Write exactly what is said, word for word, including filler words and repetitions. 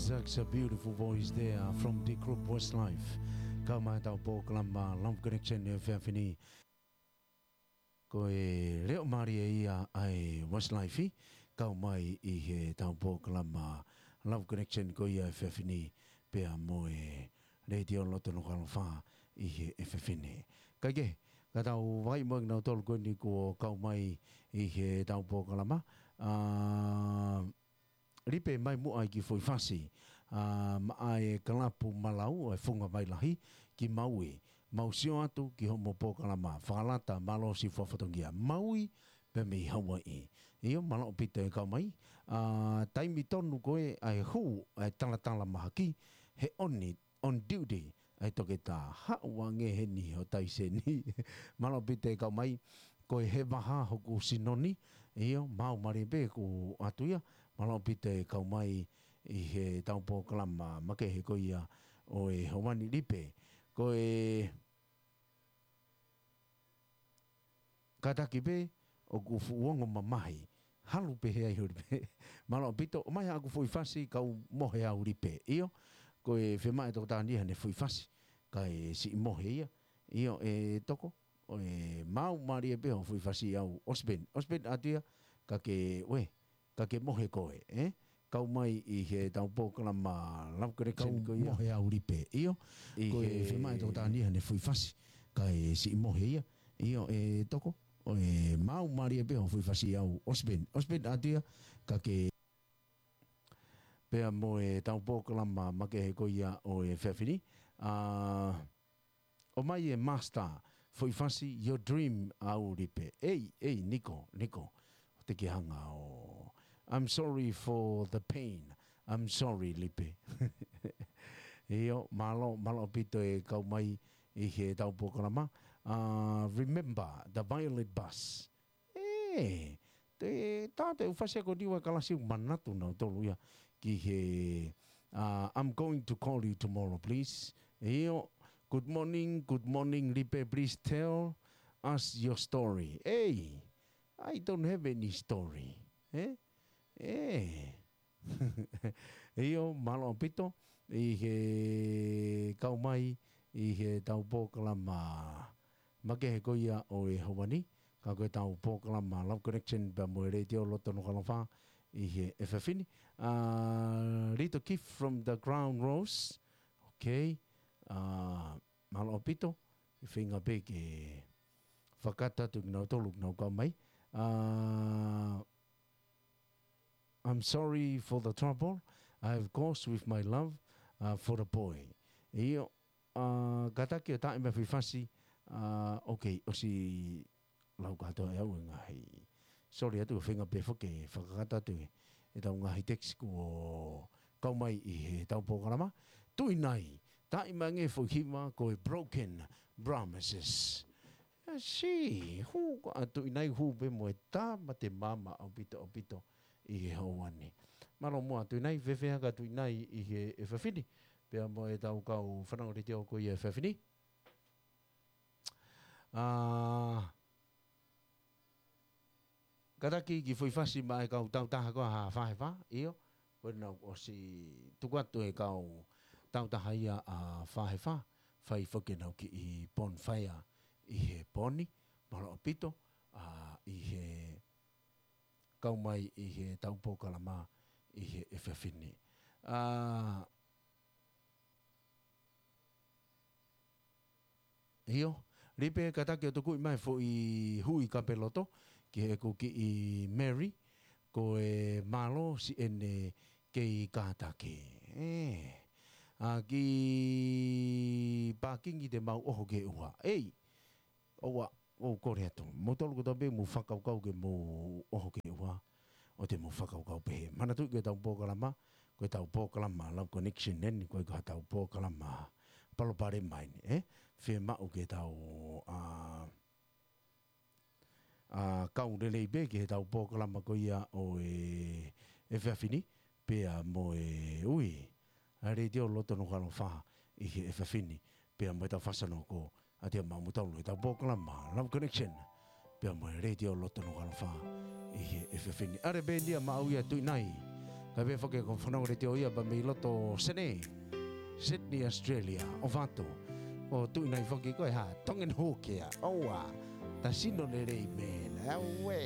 Such a beautiful voice there from the group Westlife. Kau mai ʻetau polokalama Love Connection he efiafi ni. Ko e leʻo mālie ia ʻa e Westlife, kau mai ʻi heʻetau polokalama Love Connection ko ia he efiafi ni, pea mo e Letiō Loto Nukuʻalofa ʻi he efiafi ni. Kae kehe, ka tau vakai mo kinautolu ko eni kuo kau mai ʻi heʻetau polokalama. ʻA, Lipe, mai muʻa e kiʻi foʻi fasi, ʻa, maʻa e kalapu malau ʻa e Funga Vai Lahi ki Maui. Mau sio atu ki hoʻomo polokalama fakalata, mālō siʻi fua fatongia. Maui pē mei Hawaiʻi. ʻIo, mālō ʻaupito e kau mai. ʻA, taimi tonu ko ē ʻa e hū ʻa e talatala mahaki, he ʻoni on duty ʻa e toketā. Haʻu ange heni ho taiseni. Mālō ʻaupito e kau mai. Ko e He Vaha Hoku Sino Ni. ʻIo, maau mālie pē ʻoku ʻoatu ia. Mālō ʻaupito e kau mai ʻi heʻetau polokalama makehe ko ia ʻo e ʻaho ni, Lipe. Ko e kātaki pē ʻoku fuʻu ongo mamahi. Halu pē he ai holi pē. Mālō ʻaupito, ʻomai haʻaku foʻi fasi kau mohe au, Lipe. ʻIo, ko e fiemaʻu ʻe Toketā Ni haʻane foʻi fasi, kae siʻi mohe ia. ʻIo, ʻe Toko, ʻo e maau mālie pē hoʻo foʻi fasi au. ʻOsi pē eni, ʻosi pē eni atu ia, ka ke, ue, ka ke mohe koe, ē? Kau mai ʻi heʻetau polokalama Love Connection ko ia. Kau mohe au, Lipe. ʻIo, ko e fiemaʻu ʻe Toketā Ni haʻane foʻi fasi, kae siʻi mohe ia. ʻIo, ʻe Toko, ʻo e maau mālie pē hoʻo foʻi fasi au. ʻOsi pē eni, ʻosi pē eni atu ia, ka ke, pea mo ʻetau polokalama makehe ko ia ʻo e efiafi ni. ʻA, ʻomai e master foʻi fasi Your Dream au, Lipe. ʻEi, ʻei, Niko, Niko. Te ke hanga ʻo, I'm sorry for the pain. I'm sorry, Lipe. ʻIo, mālō, mālō ʻaupito e kau mai ʻi heʻetau polokalama. ʻA, Remember the Violet Bus. ʻE, te, tā te u fasi ako niua kalasi u manatu nautolu ia ki he, ʻa, I'm going to call you tomorrow, please. ʻIo, good morning, good morning, Lipe, please tell us your story. ʻEi, I don't have any story. ʻE? ʻE. ʻIo, mālō ʻaupito, ʻi he kau mai, ʻi heʻetau polokalama makehe ko ia ʻo e ʻaho ni, ka ko ʻetau polokalama Love Connection pea mo e Letiō Loto Nukuʻalofa ʻi he efiafi ni. ʻA, Little Gift from the Crown Rose. Okay. ʻA, mālō ʻaupito, ʻi he feinga pē ke fakataha atu kinautolu, kinautolu kau mai. ʻA, I'm sorry for the trouble I have caused with my love, uh, for the boy. ʻIo, ʻa, kātaki ʻo taaʻi mai e foʻi fasi, ʻa, okay, ʻosi lau kātoa ʻe au e ngaahi. Sorry atu, feinga pē foki ke fakakakato atu ʻetau ngaahi text kuo kau mai ʻi heʻetau polokalama. Tuʻinai, taaʻi mai ange e foʻi hiva ko e Broken Promises. ʻA, si, hū, ko ʻa Tuʻinai hū pē mo e tā mate maama ʻaupito, ʻaupito ʻi he ʻaho ni. Mālō muʻa Tuʻinai, fēfē hake ʻa Tuʻinai ʻi he efiafi ni, pea mo ʻetau kau fanongo Letiō ko ia he efiafi ni. ʻA, kātaki kiʻi foʻi fasi maʻa e kau tautaha ko ē ʻa Fā He Fā, ʻio, ko ʻenau ʻosi tuku atu e kau tautaha ia ʻa Fā He Fā, fai foki ʻenau kiʻi bonfire ʻi he pō ni, mālō ʻaupito, ʻa, ʻi he kau mai ʻi heʻetau polokalama ʻi he efiafi ni. ʻA, ʻio, Lipe, kātaki ʻo tuku mai e foʻi hui kapeloto ki heʻeku kiʻi Mary, ko e mālō siʻene kei kātaki. ʻE, ʻa, kiʻi pākingi te mau ʻoho ki he ʻuha. ʻEi, ʻoua, ʻoku ou kole atu. Moutolu kotoa pē mou fakakaukau ke mou ʻoho ki he ʻuha, ʻoua te mou fakakaukau pehē. Manatuʻi ko ʻetau polokalama, ko ʻetau polokalama Love Connection eni, ʻoku ʻikai ko haʻatau polokalama palopalema eni, ē? Fiemaʻu ke tau, ʻa, ʻa, kau lelei pē ki heʻetau polokalama ko ia ʻo e efiafi ni, pea mo e ui ʻa e Letiō Loto Nukuʻalofa ʻi he efiafi ni, pea mo ʻetau fāsano ko ʻAtea Maʻa Moutolu, ʻetau polokalama Love Connection, pea mo e Letiō Loto Nukuʻalofa ʻi he efiafi ni. ʻAle pē eni ia maʻau ia Tuʻinai, Pea pehē foki ko e fononga letiō ia pea mei loto Senē, Sydney, Australia, ʻo Vatu. ʻO tuʻu ʻi ai foki ko e hā, Tongan Hawk ia. ʻOua, ta sino lelei mena. Auē.